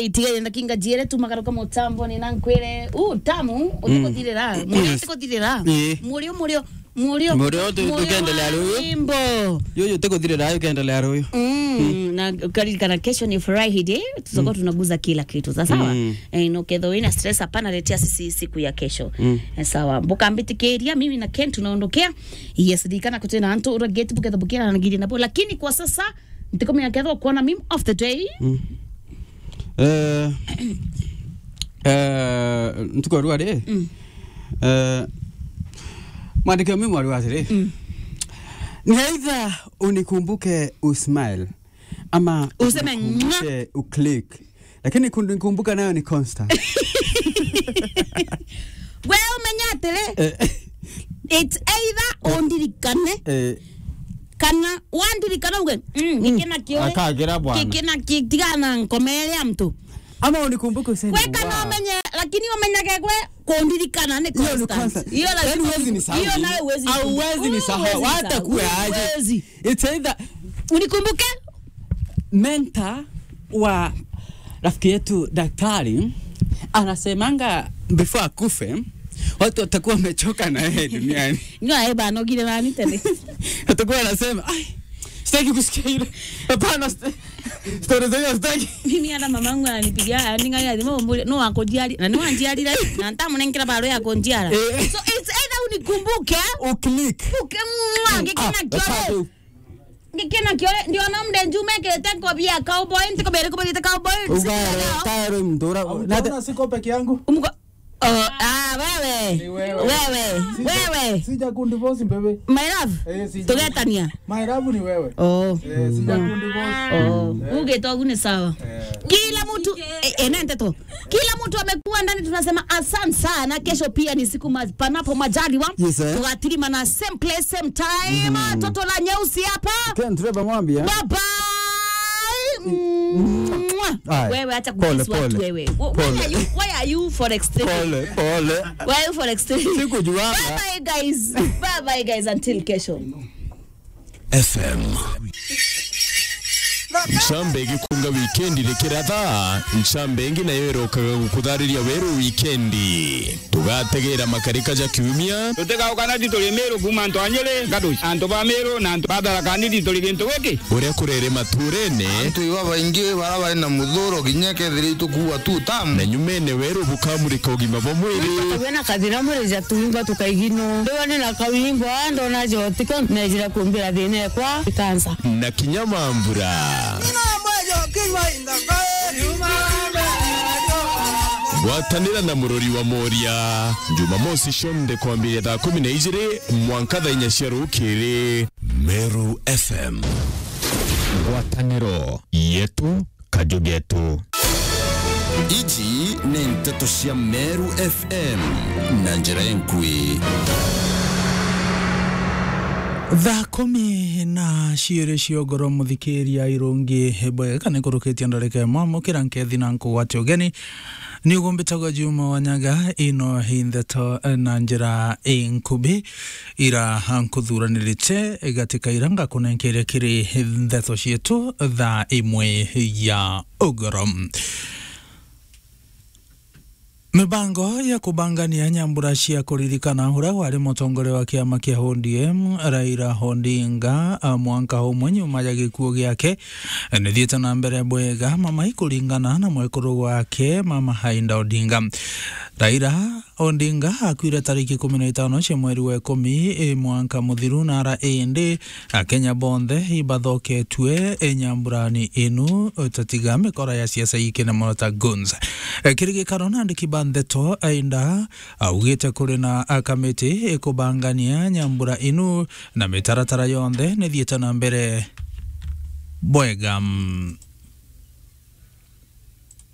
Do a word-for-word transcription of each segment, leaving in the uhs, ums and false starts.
Itigaire ndakinga jiere tu magaruka mutambo ni na nkwire, u tamu, utikuthirira, murio utikuthirira. Ii. Murio, murio, murio. Murio tu-, tukendelea ruyu. Wimbo. Yuyu utikuthirira, ukendelea ruyu. Mm, na ukaririkana kesho ni Friday, tutakuwa tunaguza kila kitu, sawa sawa? Mm. Eh, no ketho wina stress, hapana, letea sisi siku ya kesho. Mm. Eh, sawa. Bukambitikiria, mimi na Ken tunaondokea. Yes, ririkana kuti na antu ura gate buketha bukira na ngiri nabo, lakini kwa sasa, ntikumenya kethwa kuona meme of the day. Mm. Eh, eh, ntuku ya rua ri, mm, eh, mwandiki wa meme wa rua atiri, mm, ni either unikumbuke usmile ama useme unikumbuke uclick. Lakini kundi nikumbuka nayo ni constant. We umenya atiri, eh, it's either undirikane, eh, kana wandirikana uge, mm, gikina kiore. Akagira bwana. Gikina ki-, tigana na nkomere ya mtu. Ama unikumbuke useme, we kana wow, umenye, lakini umenyage gwe kundirikana ni constant. Hiyo ni constant. Hiyo lazima. Yaani huwezi nisahau. Hiyo nayo huwezi nisahau. Huwezi nisahau. Hata kuwe aje. Huwezi. It's either unikumbuke. Mentor wa rafiki yetu daktari anasemanga before akufe, watu watakuwa wamechoka na yeye duniani. Ndio, eh, bana, ugire nani tena? Atakuwa anasema, "Ai, sitaki kusikia ile. Hapana, st-, story za hiyo sitaki." Mimi hata mamangu ananipigia, aning'aria thimo, umbure, no akunjiari, na ni wanjiarire, na ntamunenkera barua ya kunjiara. Eh. So, it's either unikumbuke, uclick, uke-, mwa, ah, gikina kiore. Gikina kiore, ndio na mde njume kirete ngobia cowboy, ntiko bere kubita cowboy. Ugaere, taero mdura. Nate siko peke yangu. Umko-, oh, ah, wewe. Ni wewe. Wewe. Sija, wewe. Sija kundivorce, baby. My love. Eh, sija. Tugetania. My love ni wewe. Oh. Eh, sija kundivorce. Oh. Eh. Uge tu ni sawa. Eh. Kila mtu, eh, eh, nende tu. Kila mtu amekuwa ndani, tunasema asante sana. Kesho pia ni siku ma-, panapo majaliwa. Yes, eh. Tugatirima na same place, same time. Mhm. Toto la nyeusi hapa. Ken Trevor Mwambia. Bye bye. Mwah. Aya. Wewe acha kukiss watu wewe. Pole, pole. Wh-, why are you, why are you for extreme? Pole, pole. Why are you for extreme? Sikujuanga. Bye bye, guys. Bye bye, guys. Until kesho. F M. Ncambe igikunga wikendi rikiratha, ncambe ingi nayo irokaga gukuthariria weru wikendi. Tugategera makarika ja kiumia. Tutigauka na tituri Miru kuuma antu a Nyeri, Ngatuci, antu ba Miru na antu ba Tharaka Nithi turi gintu giki. Uria kurere maturene. Antu iba baingi bara bari na muthuro kinya kethira itukuua tu tamu. Na nyumene weru bukamurika ugima bwa mwiri. Wina kathira murija tuimba tukaigino. Ndiwa ni na kawimbo, ndona jotiko, nejira kumbira thina ekwa, ikansa. Na kinya mambura. Gwatanira na murori wa Moria, Jumamosi cionthe kwambiria thaa kumi na ijiri mwanka thaa inya cia rukiri. Meru F M. Ngwataniro yetu, kaju getu. Iji ni nteto cia Meru F M na njira inkui. Thaa kumi na ciiri cia ugoro, muthikiria irungi bwega, kana ikurukitie ndarika imwe, mukira nkethi na nkugwate ugeni. Ni ugumbitagwa Juma Wanyaga, ino i ndeto na njira inkubi. Ira nkuthuranirite gatika ira ngakunenkeria kiri ndeto cietu thaa imwe ya ugoro. Mibango ya kubangania nyambura cia kuririkana uria wari mutongoria wa kiama kia O D M, Raila Odinga, a, mwanka umwe nyuma ya gikuo giake, nithiite na mbere bwega mama ikuringana na mwekuru wake, Mama Aida Odinga. Raila Odinga akuire tariki kumi na itano cia mweri wa ikumi, e, mwanka muthiru, na ara indi Akenya bonthe ibathoketue, e, nyamburani inu, e, tatiga mikora ya siasa ikene mono ta goons. E, kiri gikaro na andiki ba ndeto, Aida augite kuri na, a, kamiti ikubangania nyambura inu na mitaratara yonthe nithiite na mbere bwega.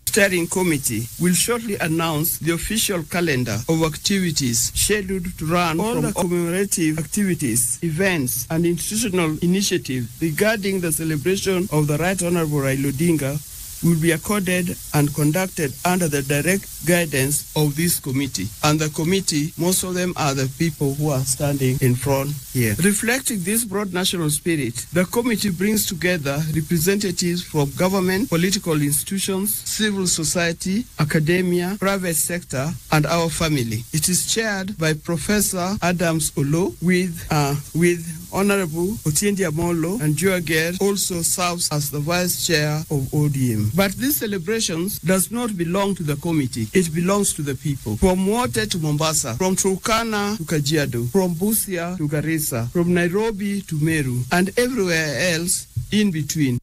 Steering Committee will shortly announce the official calendar of activities scheduled to run. All from the commemorative activities, events, and institutional initiatives regarding the celebration of the Right Honorable Raila Odinga will be accorded and conducted under the direct guidance of this committee. And the committee, most of them are the people who are standing in front here. Reflecting this broad national spirit, the committee brings together representatives from government, political institutions, civil society, academia, private sector, and our family. It is chaired by Professor Adams Olo with, uh, with Honorable Otiendi Amolo, and Joager also serves as the vice chair of O D M. But these celebrations does not belong to the committee. It belongs to the people. From Wote to Mombasa, from Turkana to Kajiado, from Busia to Garissa, from Nairobi to Meru, and everywhere else in between.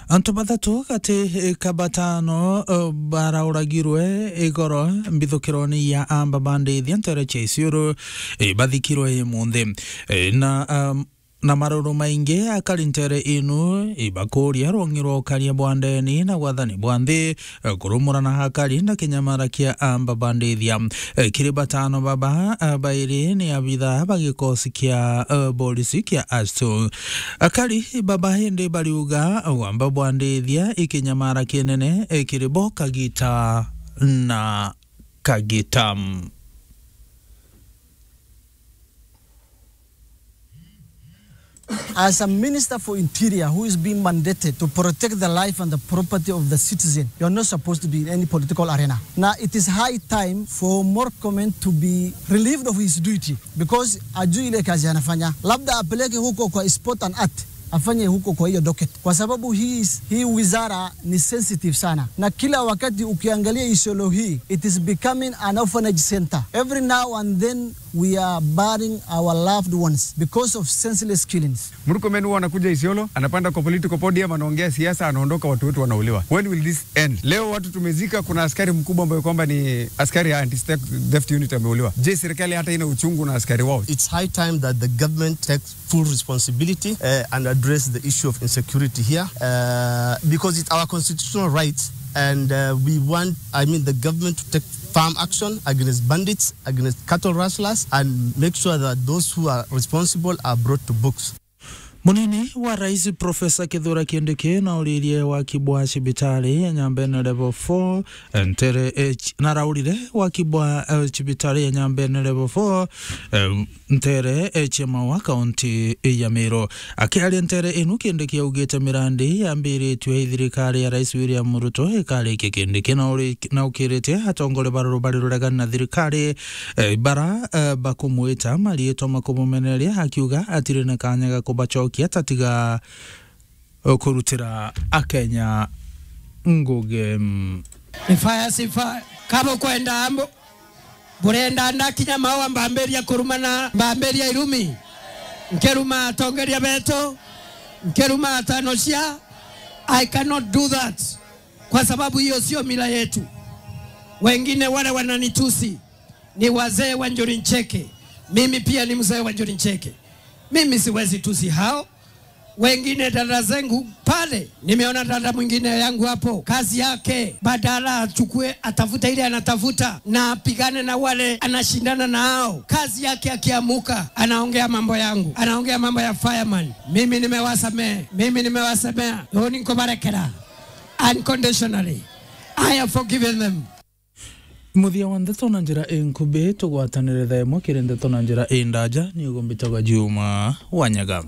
Antu bathatu gati ka batano, eh, barauragirwe igoro mbithukirone ya amba bandithia ntere cia Isiolo, eh, bathikirwe imunthi. Eh, na, um, na maruru maingi akari ntere inu ibakuria rwongi rwa ukaria bwa ndeni na wathani bwa nthi, eh, kurumurana akari na kinyamara kia amba bandithia. Eh, kiri batano baba, eh, bairi ni abitha ba gikosi kia, eh, polisi kia astu. Akari baba indi bariuga wamba bwa ndithia ikinyamara kinene, eh, kiri bo kagita na kagita. As a minister for interior who is being mandated to protect the life and the property of the citizen, you are not supposed to be in any political arena. Now it is high time for Murkomen to be relieved of his duty because ajui ile kazi anafanya. Labda apeleke huko kwa sport and art, afanye huko kwa hiyo docket, kwa sababu hii is, hii wizara ni sensitive sana, na kila wakati ukiangalia Isiolo hii, it is becoming an orphanage center. Every now and then we are burying our loved ones because of senseless killings. Murkomen huwa anakuja Isiolo, anapanda kwa political podium, anaongea siasa, anaondoka, watu wetu wanauliwa. When will this end? Leo watu tumezika, kuna askari mkubwa ambaye kwamba ni askari ya anti theft unit ameuliwa. Je, serikali hata ina uchungu na askari wao? It's high time that the government takes full responsibility, uh, and address the issue of insecurity here, uh, because it's our constitutional right, and, uh, we want, I mean, the government to take firm action against bandits, against cattle rustlers, and make sure that those who are responsible are brought to books. Munini wa rais Profesa Kithure Kindiki nauririe waki bwa cibitari ya Nyambene Level four, ntere, eh, ch-, naraurire waki bwa, eh, cibitari ya Nyambene Level four, eh, ntere, eh, cia Maua, kaunti ya Meru. Akiaria ntere inu, Kindiki augite mirandi yambiritue i thirikari ya Rais William Ruto ikarikia. Kindiki nauri-, naukirite atongoria ba rubari ruregani na thirikari, eh, bara, eh, bakumwita mariitwa makumumeneria, akiuga atiri na kanya ga kubacokia, tatiga kurutira Akenya ngugi. Ni fire si fire. Kabo kwenda ambo. Burenda ndakinya Maua mbambiria kurumana, mbambiria irumi. Nkiruma atongeria betu, nkiruma atanocia. I cannot do that. Kwa sababu hiyo sio mila yetu. Wengine wale wananitusi ni wazee wa Njuri Ncheke. Mimi pia ni mzee wa Njuri Ncheke. Mimi siwezi tusi hao. Wengine dada zangu pale, nimeona dada mwingine yangu hapo, kazi yake, badala achukue, atafute ile anatafuta na apigane na wale anashindana nao, kazi yake akiamuka, anaongea mambo yangu, anaongea mambo ya fireman. Mimi nimewasamehe, mimi nimewasamea, uni nkubarekera unconditionally. I have forgiven them. Muthia wa ndeto na njira inkubi, tugwatanire thaa imwe kiri ndeto na njira indaja. Ni ugumbitagwa Juma Wanyaga.